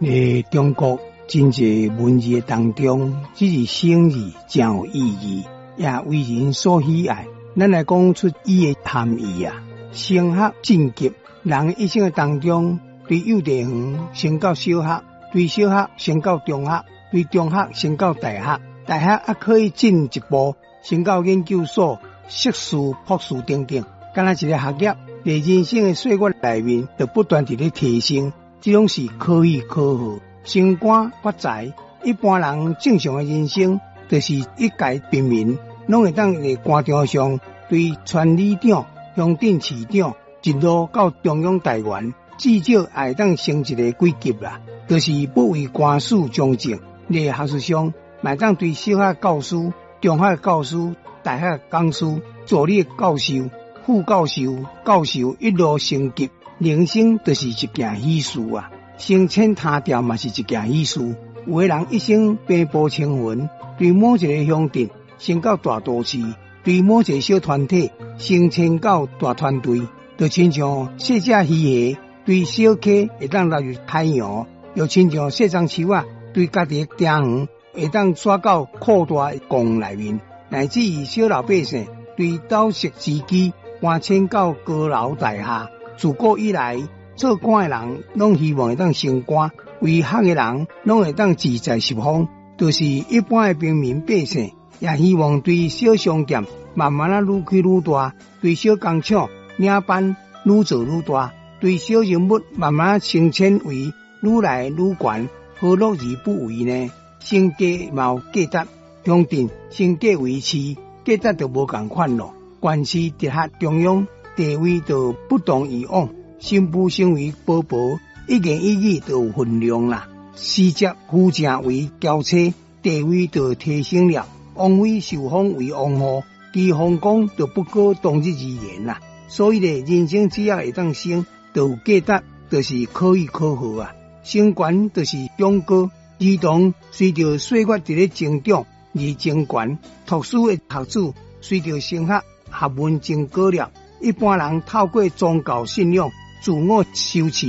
佇中國真濟文字的當中，這字升字誠有意義，也為人所喜愛。咱來講出伊的含義啊，升學進級，人一生的當中，對幼稚園升到小學，對小學升到中學，對中學升到大學，大學猶可以進一步升到研究所、碩士、博士等等。敢若一個學業，佇人生的歲月內面，就不斷佇咧提升，這攏是可喜可賀。升官發財，一般人正常的人生，就是一介平民，攏會當佇官場上，對村里長、鄉鎮市長，一路到中央大員，至少也會當升一个幾級啦。就是不為官事從政，佇學術上，嘛會當對小學教師、中學教師、大學講師、助理教授、副教授、教授一路升級，人生就是一件喜事啊！升遷他調嘛是一件喜事。有的人一生平步青雲，對某一个鄉鎮升到大都市，對某一个小團體升遷到大團隊，就親像細隻魚蝦對小溪會當納入海洋，又親像細欉樹仔對家己的田園會當徙到擴大的貢內面，乃至於小老百姓對斗室之居搬遷到高樓大廈。自古以來，做官的人攏希望會當升官，為學的人攏會當志在十方，就是一般的平民百姓也希望對小商店慢慢仔愈開愈大，對小工廠領班愈做愈大，對小人物慢慢升遷為愈來愈懸，何樂而不為呢？升格嘛有價值，鄉鎮升格為市，價值就無仝款囉。縣市直轄中央，地位就不同以往。新婦成為婆婆，一言一語都有分量啦。使節扶正為嬌妻，地位就提升了。王妃受封為王后，其風光就不可同日而言啦。所以咧，人生只要會當升，就有價值，就是可喜可賀啊。升懸就是長高，兒童隨著歲月佇咧增長而增懸，讀書的學子隨著升學，學問增高了。一般人透過宗教信仰、自我修持，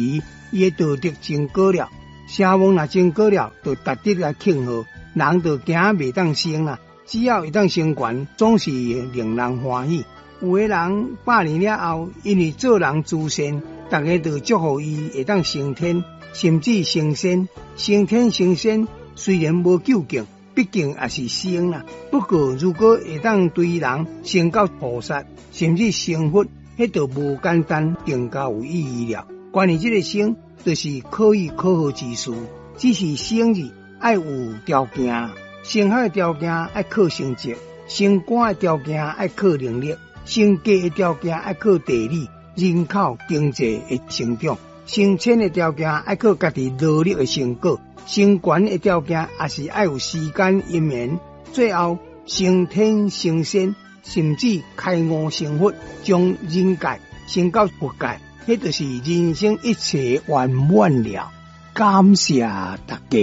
伊的道德增高了。聲望若增高了，就值得來慶賀。人就驚袂當升啦，只要會當升懸，總是令人歡喜。有的人100年了後，因為做人慈善，大家就祝福伊會當升天，甚至成仙。升天成仙雖然無究竟，畢竟也是升啦。不過如果會當對人升到菩薩，甚至成佛，彼就無簡單，更加有意義了。關於這个升，就是可喜可賀之事。只是升字愛有條件，升學的條件愛靠成績，升官的條件愛靠能力，升格的條件愛靠地理、人口、經濟的成長，升遷的條件愛靠家己努力的成果，升懸的條件也是愛有時間因緣，最後升天成仙，甚至開悟成佛，將人界升到佛界，彼就是人生一切圓滿了。感謝大家。